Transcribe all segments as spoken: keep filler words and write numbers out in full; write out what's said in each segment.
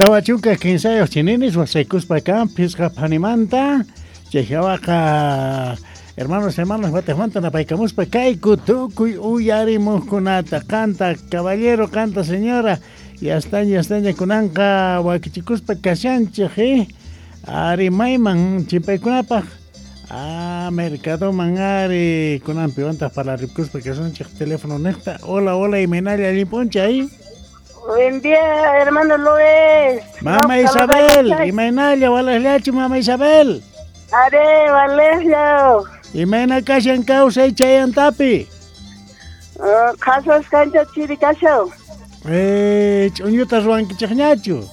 Tawa chunka kinsayuq chininis wasaykuspa kan phisqa phanimanta chayhawaqa hermanos hermanos wataqmanta napaykamuspa kayku tukuy uyarimuqkunata qanta caballero qanta señora yastaña yastaña kunanqa wakichikuspa kashanchik eh ari mayman chimpaykunapaq ah mercadoman ari kunanpiwantaq parlarikuspa kasunchik teléfono niqta. Hola hola imaynalla allin p'unchay. Buen día, hermano Luis. Mama Isabel, imaynalla walaqllachu mama Isabel. Are, walaqlla. Imayna kashan kawsay chayantapi. Uh, qhasas kancha chiri kashaw. Eh, ch'uñuta ruwankichikñachu.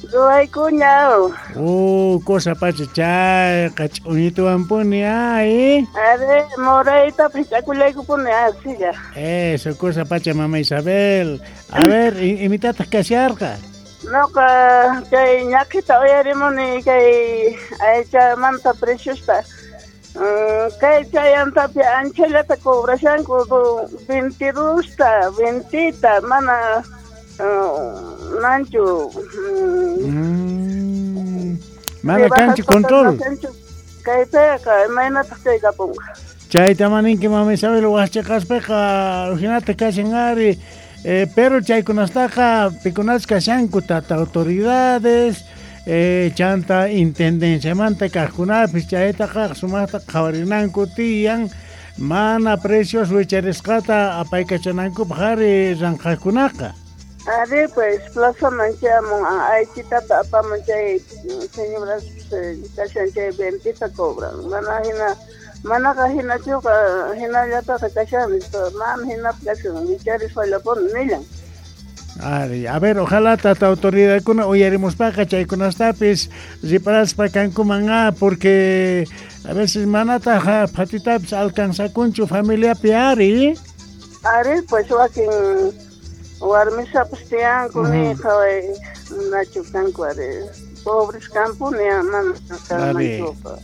Ruwaykuña. Uh, cosa pacha chayqa ch'uñituwanpuni ay. Are, morayta pich'akullaykupuni asilla. Eso, cosa pacha mama Isabel. A ver, imitataq kasharqa. Noqa chay ñaqhita uyarimuni kay aychamanta preciosta. Uh, kay chayantapi anchallata cobrashanku veintidusta, veintita, mana uh, nanchu. Mm, mana kanchu control. Kaypiqa imaynataq chay kapunqa. Chayta maninki mama Isabel wasichiqaspiqa hinata kashan ari. Eh, pero chaykunastaqa pikunas kashanku tata autoridades eh, chanta intendenciamanta kaqkunapis chaytaqa sumaqta qhawarinanku tiyan mana precios wicharisqata apaykachanankupaq ari ranqaqkunaqa. Ari pues plazaman chayamun aychitata apamun chay señoras kashan chay ventita cobran mana hina manaqa hinachuqa hinallataqa kashan mana hinapi kashan wicharisqallapuni nillan. Ari, a ver, ojalá tata autoridadkuna uyarimuspaqa chaykunastapis riparaspa kankuman ah, porque a veces manataq phatitapis alcanzakunchu familiapi ari. Ari pues wakin warmisapas tiyanku ni qhaway nachu kanku ari pobres kampuni mana kanmanchuqa.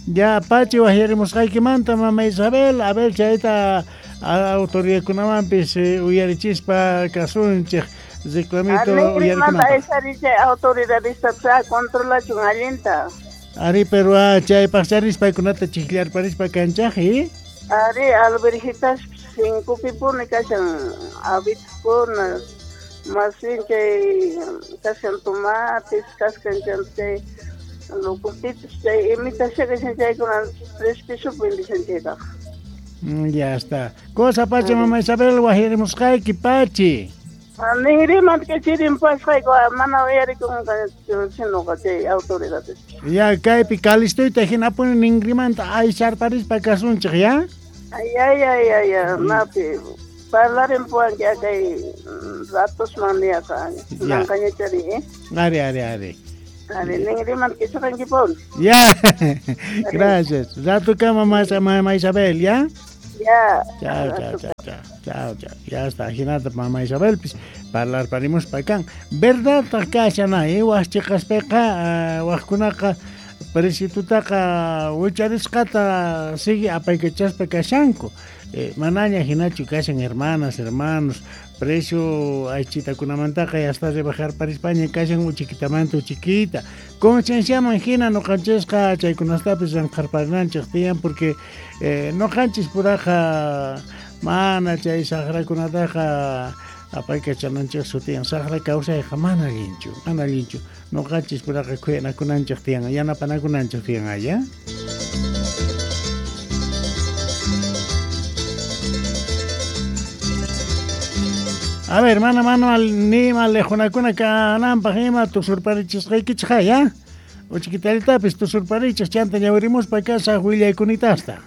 Ya pachi wajyarimusqaykimanta mama Isabel, a ver chayta autoridadkunamanpis uyarichispa kasunchik reclamito uyarikunapaq. Chay autoridadista controlachun allinta. Ari pero ah, chaypaq charispa paykunata chiqllarparispa kanchaq eh? Ari alberjitas cincopipuni kashan habitkuna más bien chay kashan tomates kashan chay locotitos chay imitasha kashan chaykuna tres pesos vendishan chaytaqa. Ya está. Cosa pacha mama Isabel wajyarimusqayki pachi. Ninrimanta kachirimpasqayku mana uyarikunqa sinoqa chay autoridades. Ya kaypi kalistuyta hinapuni ninrimanta aysarparispa kasunchik ya. Ay ay ay ay napi parlarimpuwanki kay ratosman niyaqa nanqañachari eh. Ari ari ari. Ari ninrimanta kichaqankipuni. Ya. Gracias. Ratukama mama Isabel, ya. Ya. Chao, chao, chao, chao, chao, chao. Ya está, hinata mama Isabel, pues, parlarparimuspa kan. Verdad kashan eh, wasichiqaspiqa waqkunaqa presitutaqa wicharisqata sigue apaykachaspa kashanku. Eh, manaña hinachu kashan hermanas, hermanos, precio aychitakunamantaqa ya está rebajarparispaña kashan uchikitamanta uchiquita. Concienciaman hina noqanchisqa chaykunastapis ranqharparinanchik tiyan porque eh, noqanchis puraqa mana chay saqrakunataqa apaykachananchik sutiyan saqra kawsayqa mana allinchu, mana allinchu. Noqanchis puraqa khuyanakunanchik tiyan, yanapanakunanchik tiyan aya. A ver, mana mana nima lejunakuna kananpaq ima tusurparichisqaykichik ya. Uchikitallatapis tusurparichik chanta ñawirimuspa kasaq willaykunitasta.